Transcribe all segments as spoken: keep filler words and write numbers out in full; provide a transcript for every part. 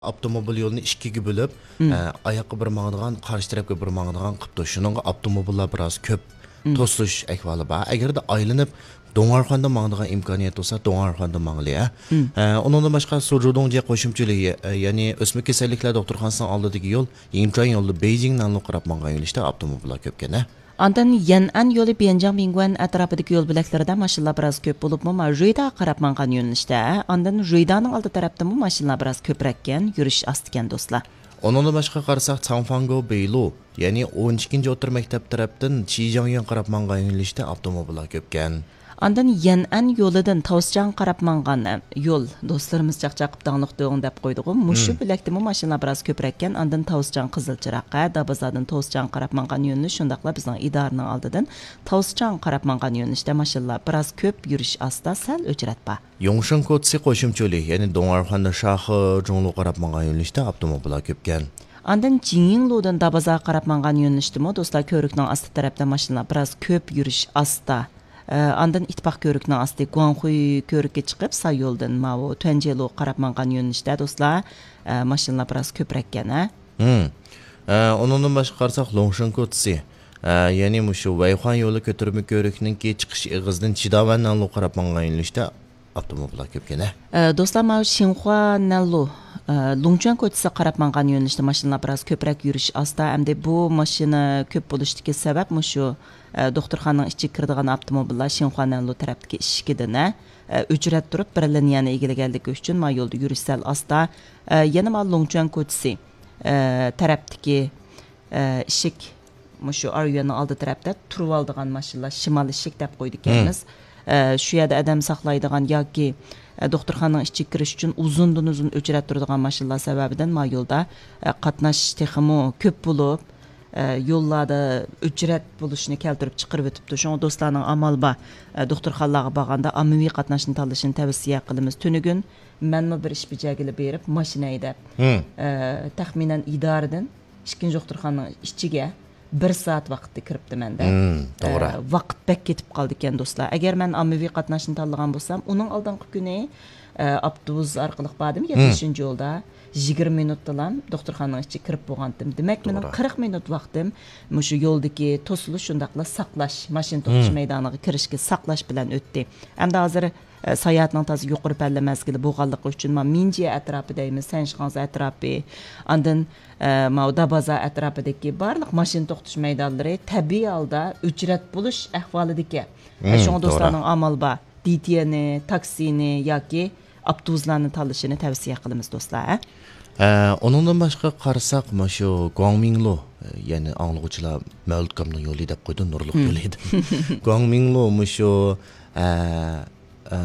ئاپتوموبىل يولىنى ئىككىگە بۆلۈپ، ئە، ئاياققا بىر ماڭىدىغان، قارشى تەرەپكە بىر ماڭىدىغان قىپتۇ. شۇنىڭغا ئاپتوموبىللار بىراز كۆپ توسۇلۇش ئەھۋالى بار. ئەگەردە ئايلىنىپ، دۇڭئەرخۇەندىن ماڭىدىغان ئىمكانىيەت بولسا، دۇڭئەرخۇەندىن ماڭىلى، ھە. ئە، ئۇنىڭدىن باشقا، سۇجۇدۇڭجيې قوشۇمچىلىكى، ئە، يەنى ئۆسمە كېسەللىكلەر دوختۇرخانىسىنىڭ ئالدىدىكى يول، يىنچۇەن يولى بېيجىڭ نەنلۇ قاراپ ماڭغان يۆنىلىشتە ئاپتوموبىللار كۆپكەن، ھە. ئاندىن يەنئەن يولى بيەنجاڭ بىڭگۇەن ئەتراپىدىكى يول بۆلەكلىرىدە ماشىنىلار بىراز كۆپ بولۇپمۇ، ما، رۇيدا قاراپ ماڭغان يۆنىلىشتە، ئاندىن رۇيدانىڭ ئالدى تەرەپتىمۇ ماشىنىلار بىراز كۆپرەككەن، يۈرۈش ئاستىكەن، دوستلار. ئۇنىڭدىن باشقا قارىساق، چاڭفاڭگو بېيلۇ، يەنى ئون ئىككىنچى ئوتتۇرا مەكتەپ تەرەپتىن چىجياڭيۈەن قاراپ ماڭغان يۆنىلىشتە ئاپتوموبىللار كۆپكەن. ئاندىن يەنئەن يولىدىن تاۋسىچاڭ قاراپ ماڭغان يول، دوستلىرىمىز چاقچاق قىپ داڭلىق دۆڭ دەپ قويدىغۇ. مۇشۇ بۆلەكتىمۇ ماشىنىلار بىراز كۆپرەككەن. ئاندىن تاۋسىچاڭ قىزىل چىراغ، ھە، دابازادىن تاۋسىچاڭ قاراپ ماڭغان يۆنىلىش، شۇنداقلا بىزنىڭ ئىدارىنىڭ ئالدىدىن تاۋسىچاڭ قاراپ ماڭغان يۆنىلىشتە ماشىنىلار بىراز كۆپ، يۈرۈش ئاستا، سەل ئۆچرەت بار. يوڭشېن كوتسى قوشۇمچە يولى، يەنى دۇڭئەرخۇەندىن شاخې جۇڭلۇ قاراپ ماڭغان يۆنىلىشتە ئاپتوموبىللار كۆپكەن. ئاندىن جىڭيىڭلۇدىن دابازا قاراپ ماڭغان يۆنىلىشتىمۇ، دوستلار، كۆۋرۈكنىڭ ئاستى تەرەپتە ماشىنىلار بىراز كۆپ، يۈرۈش ئاستا. ئە، ئاندىن ئىتتىپاق كۆۋرۈكنىڭ ئاستى گۇاڭخۇي كۆۋرۈككە چىقىپ، ساي يولدىن ماۋۇ تۈەنجيېلۇ قاراپ ماڭغان يۆنىلىشتە، دوستلار، ئە، ماشىنىلار بىراز كۆپرەككەن، ھە؟ ھىم. ئە، ئۇنىڭدىن باشقا قارىساق، لوڭشېن كوتسى، ئە، يەنى مۇشۇ ۋەيخۇەن يولى كۆتۈرمە كۆۋرۈكنىڭكى چىقىش ئېغىزىدىن چىداۋەن نەنلۇ قاراپ ماڭغان يۆنىلىشتە ئاپتوموبىللار كۆپكەن، ھە؟ ئە، دوستلار، ماۋۇ شىنخۇا نەنلۇ، ئە، لۇڭچۈەن كوچىسىغا قاراپ ماڭغان يۆنىلىشتە ماشىنىلار بىراز كۆپرەك يۈرۈش ئاستا. ئەمدى بۇ ماشىنا كۆپ بولۇشتىكى سەۋەب مۇشۇ، ئە، دوختۇرخانىنىڭ ئىچىگە كىرىدىغان ئاپتوموبىللار شىنخۇا نەنلۇ تەرەپتىكى ئىشىكىدىن، ئە، ئۆچرەت تۇرۇپ، بىر لىنىيەنى ئىگىلىگەنلىكى ئۈچۈن ما يولدا يۈرۈش سەل ئاستا. ئە، يەنە ما لۇڭچۈەن كوچىسى، ئە، تەرەپتىكى ئىشىك، مۇشۇ ئاريۈەننىڭ ئالدى تەرەپتە تۇرۇۋالىدىغان ماشىنىلار، شىمال ئىشىك دەپ قويىدىكەنمىز. ئە، شۇ يەردە ئادەم ساقلايدىغان ياكى، ئە، دوختۇرخانىنىڭ ئىچىگە كىرىش ئۈچۈن ئۇزۇندىن ئۇزۇن ئۆچرەت تۇرىدىغان ماشىنىلار سەۋەبىدىن ما يولدا، ئە، قاتناش تېخىمۇ كۆپ بولۇپ، ئە، يوللاردا ئۆچرەت بولۇشنى كەلتۈرۈپ چىقىرىۋېتىپتۇ. شۇڭا دوستلارنىڭ ئامال بار، ئە، دوختۇرخانىلارغا بارغاندا ئاممىۋى قاتناشنى تاللىشىنى تەۋسىيە قىلىمىز. تۈنۈگۈن مەنمۇ بىر ئىش بېجەرگىلى بېرىپ، ماشىنا ھەيدەپ، ئە، تەخمىنەن ئىدارىدىن ئىككىنچى دوختۇرخانىنىڭ ئىچىگە بىر سائەت ۋاقىتتا كىرىپتىمەن-دە. مم، توغرا. ئە، ۋاقىت بەك كېتىپ قالىدىكەن، دوستلار. ئەگەر مەن ئاممىۋى قاتناشنى تاللىغان بولسام، ئۇنىڭ ئالدىنقى كۈنى، ئە، ئاپتوبۇس ئارقىلىق باردىم، يەتمىشىنچى يولدا. يىگىرمە مىنۇتتىلا دوختۇرخانىنىڭ ئىچىگە كىرىپ بولغانتىم. دېمەك، مېنىڭ توغرا. قىرىق مىنۇت ۋاقتىم مۇشۇ يولدىكى توسۇلۇش، شۇنداقلا ساقلاش، ماشىنا توختىتىش مەيدانىغا كىرىشكە ساقلاش بىلەن ئۆتتى. ئەمدى ھازىر، ئە، ساياھەتنىڭ تازا يۇقىرى پەللە مەزگىلى بولغانلىقى ئۈچۈن، ما مىنجيې ئەتراپى دەيمىز، سەنشىخاڭزې ئەتراپى، ئاندىن، ئە، ماۋۇ دابازا ئەتراپىدىكى بارلىق ماشىنا توختىتىش مەيدانلىرى تەبىئىي ھالدا ئۆچرەت بولۇش ئەھۋالىدىكەن. ئە، مم، شۇڭا توغرا. دوستلارنىڭ ئامال بار، دىتيېنى، تاكسىنى ياكى ئاپتوبۇسلارنى تاللىشىنى تەۋسىيە قىلىمىز، دوستلار، ھە؟ ئە، ئۇنىڭدىن باشقا قارىساق، مۇشۇ گۇاڭمىڭلۇ، ئە، يەنى ئاڭلىغۇچىلار مەۋلۇت ئاكامنىڭ يولى دەپ قويدۇم، نۇرلۇق يولى دەپ. گۇاڭمىڭلۇ مۇشۇ، ئە، ئە،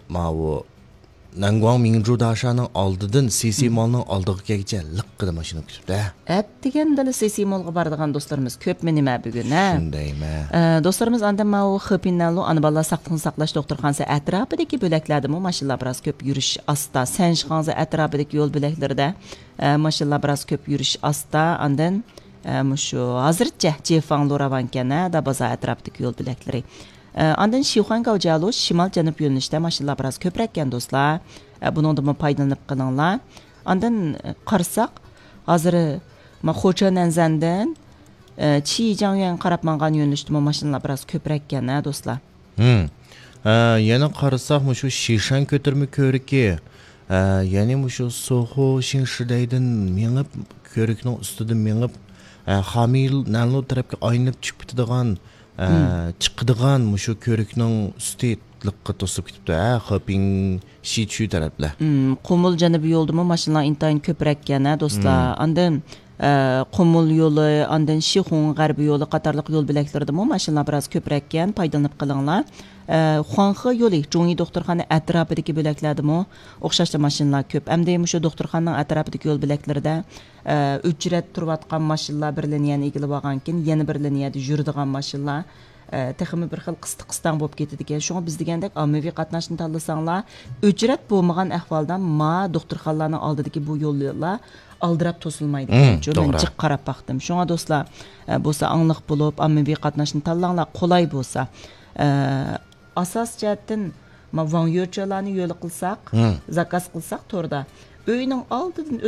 ماۋۇ نەنگۇاڭ مىڭجۇ داشانىڭ ئالدىدىن سىسى مالنىڭ ئالدىغا كەلگۈچە لىققىدە ماشىنا كۈتۈپتۇ. ئەتىگەندىلا سىسى مالغا بارىدىغان دوستلىرىمىز كۆپمۇ نېمە بۈگۈن، ھە؟ شۇندايمۇ. ئە، دوستلىرىمىز ئاندىن ماۋۇ خېپىنەنلۇ ئانا بالىلار ساقلىقنى ساقلاش دوختۇرخانىسى ئەتراپىدىكى بۆلەكلەردىمۇ ماشىنىلار بىراز كۆپ يۈرۈش ئاستا. سەنشىخاڭزې ئەتراپىدىكى يول بۆلەكلىرىدە، ئە، ماشىنىلار بىراز كۆپ يۈرۈش ئاستا. ئاندىن، ئە، مۇشۇ ھازىرچە جېفاڭلۇ راۋانكەن، ھە، دابازا ئەتراپىدىكى يول بۆلەكلىرى. ئە، ئاندىن شىخۇەن گاۋجيالۇ شىمال جەنۇب يۆنىلىشتە ماشىنىلار بىراز كۆپرەككەن، دوستلار. ئە، بۇنىڭدىنمۇ پايدىلىنىپ قېلىڭلار. ئاندىن، ئە، قارىساق، ھازىر، ما، خوچېنەنزەندىن، ئە، چىجياڭيۈەنگە قاراپ ماڭغان يۆنىلىشتىمۇ ماشىنىلار بىراز كۆپرەككەن، ھە، دوستلار. ھىم. ئە، يەنە قارىساق، مۇشۇ شىشەن كۆتۈرمە كۆۋرۈكى، ئە، يەنى مۇشۇ سوخۇ شىڭشىدەيدىن مېڭىپ، كۆۋرۈكنىڭ ئۈستىدىن مېڭىپ، ئە، خامىل نەنلۇ تەرەپكە ئايلىنىپ چۈشۈپ كېتىدىغان، ئە، چىقىدىغان مۇشۇ كۆۋرۈكنىڭ ئۈستى لىققا توسۇپ كېتىپتۇ، ھە، خېپىڭ شىچۈ تەرەپلەر. مم، قۇمۇل جەنۇبىي يولدىمۇ ماشىنىلار ئىنتايىن كۆپرەككەن، ھە، دوستلار. مم. ئاندىن، ئە، قۇمۇل يولى، ئاندىن شىخۇڭ غەربىي يولى قاتارلىق يول بۆلەكلىرىدىمۇ ماشىنىلار بىراز كۆپرەككەن، پايدىلىنىپ قېلىڭلار. ئە، خۇاڭخې يولى، جۇڭيى دوختۇرخانا ئەتراپىدىكى بۆلەكلەردىمۇ ئوخشاشلا ماشىنىلار كۆپ. ئەمدى مۇشۇ دوختۇرخانىنىڭ ئەتراپىدىكى يول بۆلەكلىرىدە، ئە، ئۆچرەت تۇرۇۋاتقان ماشىنىلار بىر لىنىيەنى ئىگىلىۋالغاندىن كېيىن، يەنە بىر لىنىيەدە يۈرىدىغان ماشىنىلار، ئە، تېخىمۇ بىر خىل قىستىق قىستاڭ بولۇپ كېتىدىكەن. شۇڭا بىز دېگەندەك ئاممىۋى قاتناشنى تاللىساڭلار، ئۆچرەت بولمىغان ئەھۋالدا ما دوختۇرخانىلارنىڭ ئالدىدىكى بۇ يوللار ئالدىراپ توسۇلمايدىكەنچۇ. مم، مەن توغرا. جىق قاراپ باقتىم. شۇڭا دوستلار، ئە، بولسا ئاڭلىق بولۇپ، ئاممىۋى قاتناشنى تاللاڭلار، قولاي بولسا. ئە، ئاساسىي جەھەتتىن، ما، ۋاڭ يۆچۈەنلارنى يولى قىلساق، مم. زاكاز قىلساق توردا، ئۆينىڭ ئالدىدىن